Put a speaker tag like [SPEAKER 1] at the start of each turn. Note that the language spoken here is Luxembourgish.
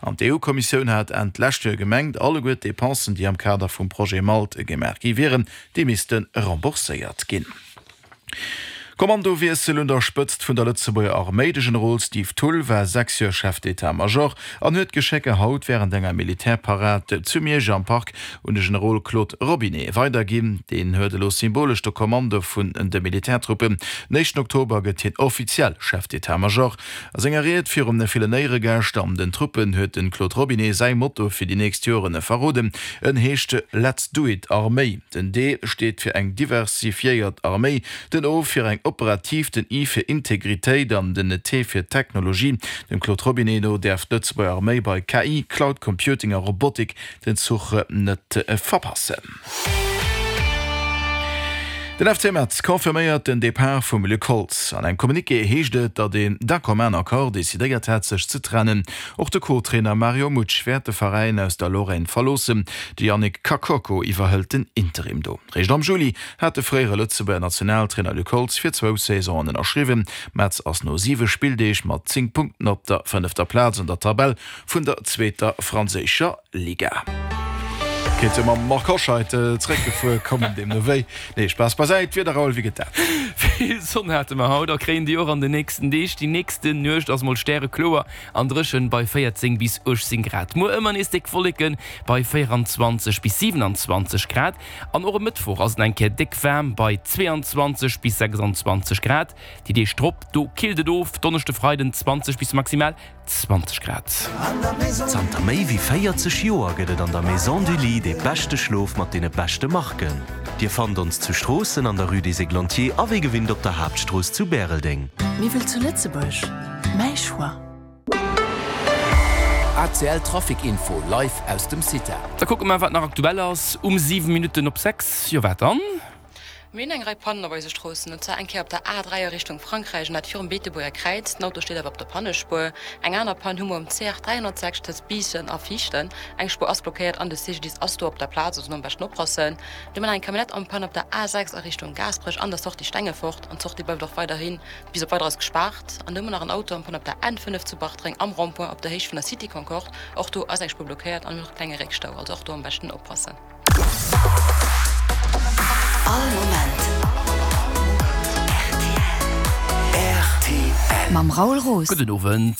[SPEAKER 1] An d'EU-Kommissioun hat Enn d'lescht Joer gemengt, alleguer d'Depensen, déi am Kader vum Projet Malt gemaach gi wieren, déi misste rembourséiert ginn. Kommandowiessel un der Spëtzt vun der Lëtzebuerger Arméi, De Generol Steve Thull war 6 Joer Chef d'État-Major an huet d'Geschécker haut wärend enger Militärparad zu Miersch am Park un de Generol Claude Robinet weiderginn. Deen huet elo symbolesch de Kommando vun de Militärtruppen. Den éischten Oktober gëtt hien offiziell Chef d'État-Major. A senger Ried virum villen Éieregäscht an den Truppen huet de Claude Robinet säi Motto fir déi nächst Joren verroden. En heescht Let's do it Arméi. Den D steet fir eng diversifiéiert Arméi, den O fir eng operativ, den I fir Integritéit an den T fir Technologie. Dem Claude Robinet no däerf d'Lëtzebuerger Arméi bei KI, Cloud Computing a Robotik den Zuch net verpassen. Den FC Metz confirméiert den Depart vum Luc Holtz. An engem Communiqué heescht et, datt een d'un commun accord decidéiert hätt, sech ze trennen. Och de Co-Trainer Mario Mutsch wäert de Veräin aus der Lorraine verloossen. De Yannick Kakoko iwwerhëlt den Interim do. Réischt am Juli hat de fréiere Lëtzebuerger Nationaltrainer Luc Holtz fir zwou Saisonen ënnerschriwwen. Metz ass no siwe Spilldeeg mat 10 Punkten op der fënnefter Plaz an der Tabell vun der zweeter franséischer Liga. Kéint jo mam Marc Hoscheid zréckgefuer kommen, deemno wéi. Nee, Spaass beisäit, Wieder Raoul, wéi gëtt dat?
[SPEAKER 2] Vill Sonn hate mer haut a kréien déi och an den nächsten Deeg. Déi nächsten Nuecht ass mol stärekloer an dréchen bei 14 bis 18 Grad. Muer ëmmer nees déck Wolleke bei 24 bis 27 Grad an och e Mëttwoch ass et eng Kéier déck waarm bei 22 bis 26 Grad. Déi Deeg drop, do killt et of, Donneschde, Freiden 20 bis maximal 20 Grad.
[SPEAKER 3] Zanter méi wéi 40 Joer gëtt et an der Maison du Lit dee beschte Schlof mat deene beschte Marken. Dir fannt ons zu Stroossen an der Rue des Églantiers a wéi gewinnt op der Haaptstrooss zu Bäreldeng.
[SPEAKER 4] Miwwel zu Lëtzebuerg, mäi Choix.
[SPEAKER 5] ACL Trafic Info live aus dem CITA.
[SPEAKER 2] Da kucke mer wat nach aktuell ass um 7 Minutten op 6. Jo wat dann?
[SPEAKER 6] Mir hunn eng Rei Pannen op eise Stroossen, und zwar eng Kéier op der A3 a Richtung Frankräich, an dat virum Beetebuerger Kräiz. Den Auto steet awer op der Pannespuer. Eng aner Pann hu mer um CR 306 tëscht Biissen a Viichten. Eng Spuer ass blockéiert an de CGDIS ass do op der Plaz, also do am beschten oppassen. Du hu mer nach eng Camionnette en Panne op der A6 a Richtung Gaasperech an der Sortie Stengefort, an d'Sortie bleift och weiderhi bis op Weideres gespaart. An du hu mer nach en Auto en Panne op der N5 zu Bartreng am Rond-point op der Héicht vun der City Concorde. Och do ass eng Spuer blockéiert an mir hunn och e klenge Réckstau, also och do am beschten oppassen.
[SPEAKER 4] All Moment rtl. Mam Raoul Roos.
[SPEAKER 2] Gudden Owend.